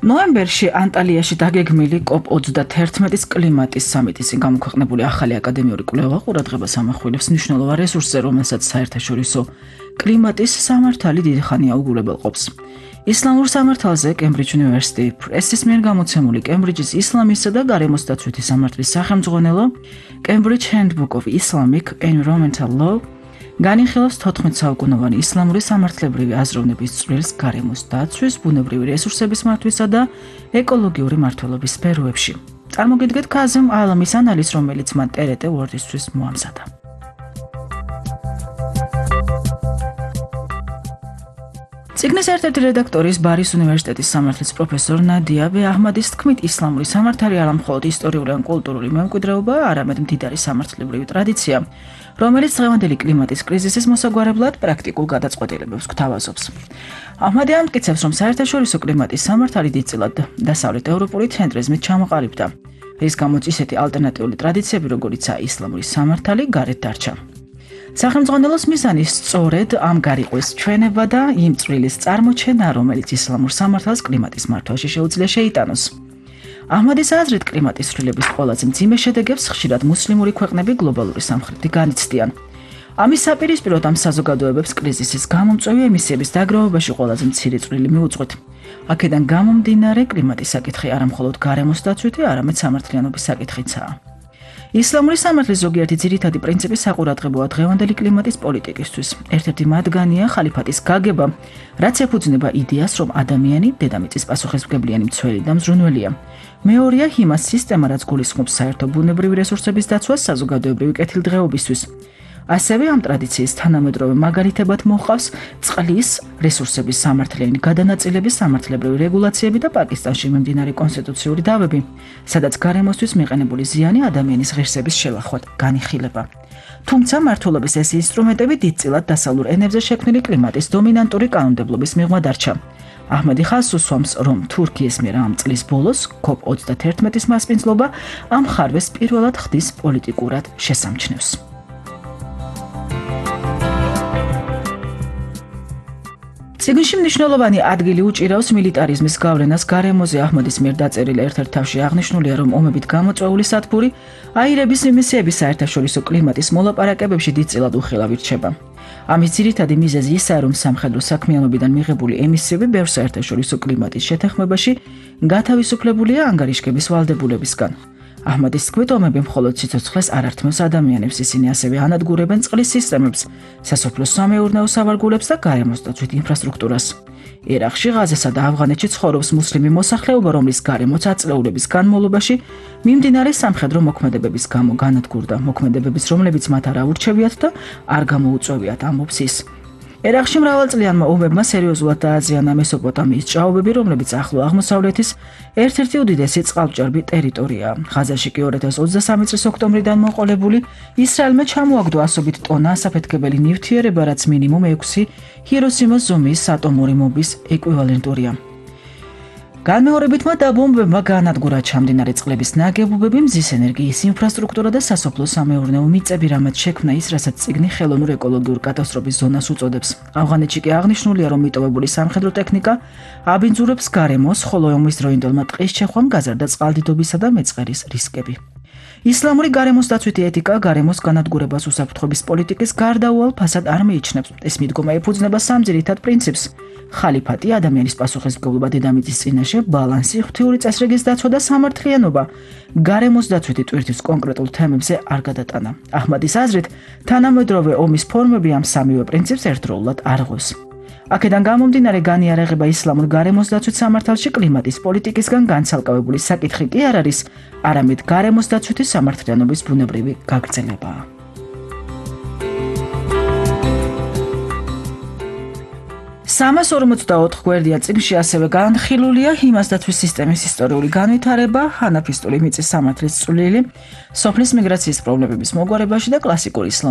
ნოემბერში ანტალიაში დაგეგმილი COP21-ის კლიმატის სამიტის გამოქვეყნებული ახალი აკადემიური კვლევა ყურადღებას ამახვილებს მნიშვნელოვან რესურსზე, რომელსაც საერთაშორისო კლიმატის სამართალი დიდი ხანია უგულებელყოფს. ისლამურ სამართალზე Cambridge University Press-ის მიერ გამოცემული კემბრიჯის ისლამისა და გარემოს დაცვითი სამართლის სახელმძღვანელო Cambridge Handbook of Islamic Environmental Law განიხილავს 14 საუკუნოვანი ისლამური სამართლებრივი აზროვნების წვრილს გარემოს დაცვის, ბუნებრივი რესურსების მართვისა და ეკოლოგიური მმართველობის სფეროებში. წარმოგიდგეთ ქაზიმ ალამის ანალიზს, რომელიც მან TRT World-ისთვის მოამზადა. წიგნის ერთ-ერთი რედაქტორის ბარის უნივერსიტეტის სამართლის პროფესორ ნადია ბე-აჰმადის თქმით, ისლამური სამართალი არა მხოლოდ ისტორიული ან კულტურული მემკვიდრეობა, არამედ მდიდარი სამართლებრივი ტრადიცია, რომელიც დღევანდელი კლიმატის კრიზისის მოსაგვარებლად პრაქტიკულ გადაწყვეტილებებს გვთავაზობს. აჰმადი ამტკიცებს, რომ საერთაშორისო კლიმატის სამართალი დიდწილად დასავლეთ ევროპული ცენტრიზმით ჩამოყალიბდა, რის გამოც ისეთი ალტერნატიული ტრადიციები, როგორიცაა ისლამური სამართალი, გარეთ დარჩა. სახელმძღვანელოს მიზანი სწორედ ამ გარიყვის ჩვენება და იმ წვრილის წარმოჩენა, რომელიც ისლამურ სამართალს კლიმატის მართვაში შეუძლია შეიტანოს. აჰმადის აზრით, კლიმატის ცვლილების ყველაზე მძიმე შედეგებს ხშირად მუსლიმური ქვეყნები გლობალური სამხრეთი განიცდიან. ამის საპირისპიროდ ამ საზოგადოებებს კრიზისის გამომწვევი ემისიების დაგროვებაში ყველაზე მცირე წვლილი მიუძღვით. აქედან გამომდინარე, კლიმატის საკითხი არა მხოლოდ გარემოს დაცვითი, არამედ სამართლიანობის საკითხიცაა. ისლამური სამართლის ზოგიერთი ძირითადი პრინციპი საყურადღებოა დღევანდელი კლიმატის პოლიტიკისთვის. ერთ-ერთი მათგანია ხალიფატის გაგება, რაც ეფუძნება იდეას, რომ ადამიანი დედამიწის პასუხისმგებლიანი მცველი და მზრუნველია. მეორეა ჰიმას სისტემა, რაც გულისხმობს საერთო ბუნებრივი რესურსების დაცვას საზოგადოებრივი კეთილდღეობისთვის. ასევე ამ ტრადიციის თანამედროვე მაგალითებად მოჰყავს წყლის რესურსების სამართლიანი გადანაწილების სამართლებრივი რეგულაციები და პაკისტანში მიმდინარე კონსტიტუციური დავები, სადაც გარემოსთვის მიყენებული ზიანი ადამიანის ღირსების შელახვად განიხილება. თუმცა მმართველობის ეს ინსტრუმენტები დიდწილად დასავლურ ენებზე შექმნილი კლიმატის დომინანტური კანონმდებლობის მიღმა დარჩა. აჰმადი ხაზს უსვამს, რომ თურქიის მიერ ამ წლის ბოლოს COP21-ის მასპინძლობა ამ ხარვეს პირველად ხდის პოლიტიკურად შესამჩნევს. წიგნში მნიშვნელოვანი ადგილი უჭირავს მილიტარიზმის გავლენას გარემოზე. აჰმადის მიერ დაწერილი ერთ-ერთ თავში აღნიშნულია, რომ ომებით გამოწვეული სათბური აირების ემისიების საერთაშორისო კლიმატის მოლაპარაკებებში დიდწილად უხილავი რჩება. ამის ძირითადი მიზეზი ისაა, რომ სამხედრო საქმიანობიდან მიღებული ემისიები ბევრ საერთაშორისო კლიმატის შეთანხმებაში გათავისუფლებულია ანგარიშგების ვალდებულებისგან. აჰმადის თქმით, ომები მხოლოდ სიცოცხლეს არ ართმევს ადამიანებს, ისინი ასევე ანადგურებენ წყლის სისტემებს, სასოფლო-სამეურნეო სავარგულებს და გარემოს დაცვით ინფრასტრუქტურას. ერაყში, ღაზასა და ავღანეთში ცხოვრობს მუსლიმი მოსახლეობა, რომლის გარემოც აწლეულების განმავლობაში მიმდინარე სამხედრო მოქმედებების გამო განადგურდა. მოქმედებების, რომლებიც მათ არ აურჩევიათ და არ გამოუწვევიათ, ამბობს ის. ერაყში მრავალწლიანმა ომებმა სერიოზულად დააზიანა მესოპოტამიის ჭაობები, რომლებიც ახლო აღმოსავლეთის ერთ-ერთი უდიდესი წყალმჭერბი ტერიტორიაა. ღაზაში კი 2023 წლის ოქტომბრიდან მოყოლებული ისრაელმა ჩამოაგდო ასობით ტონა ასაფეთქებელი ნივთიერება, რაც მინიმუმ 6 ჰიროსიმას ზომის ატომური ბომბის ეკვივალენტურია. განმეორებითმა დაბომბებმა გაანადგურა ჩამდინარე წყლების ნაგებობები, მზის ენერგიის ინფრასტრუქტურა და სასოფლო-სამეურნეო მიწები, რამაც შექმნა ის, რასაც წიგნი ხელოვნურ ეკოლოგიურ კატასტროფის ზონას უწოდებს. ავღანეთში კი აღნიშნულია, რომ მიტოვებული სამხედრო ტექნიკა აბინძურებს გარემოს, ხოლო ომის დროინდელმა ტყის ჩეხვამ გაზარდა წყალდიდობისა და მეწყერის რისკები. ისლამური გარემოს დაცვითი ეთიკა გარემოს განადგურებას უსაფრთხოების პოლიტიკის გარდაუვალ ფასად არ მიიჩნევს. ეს მიდგომა ეფუძნება სამ ძირითად პრინციპს: ხალიფატი, ადამიანის პასუხისმგებლობა დედამიწის წინაშე, ბალანსი, ღვთიური წესრიგის დაცვა და სამართლიანობა გარემოს დაცვითი ტვირთის კონკრეტულ თემებზე არ გადატანა. აჰმადის აზრით, თანამედროვე ომის ფორმები ამ სამივე პრინციპს ერთდროულად არღვევს. აქედან გამომდინარე, განიარაღება ისლამურ გარემოს დაცვით სამართალში კლიმატის პოლიტიკისგან განცალკევებული საკითხი კი არ არის, არამედ გარემოს დაცვითი სამართლიანობის ბუნებრივი გაგრძელებაა. 344 გვერდიან წიგნში ასევე განხილულია ჰიმას დაცვის სისტემის ისტორიული განვითარება, ჰანაფისტული მიწის სამართლის წვლილი, სოფლის მიგრაციის პრობლემების მოგვარებაში და კლასიკური ისლამური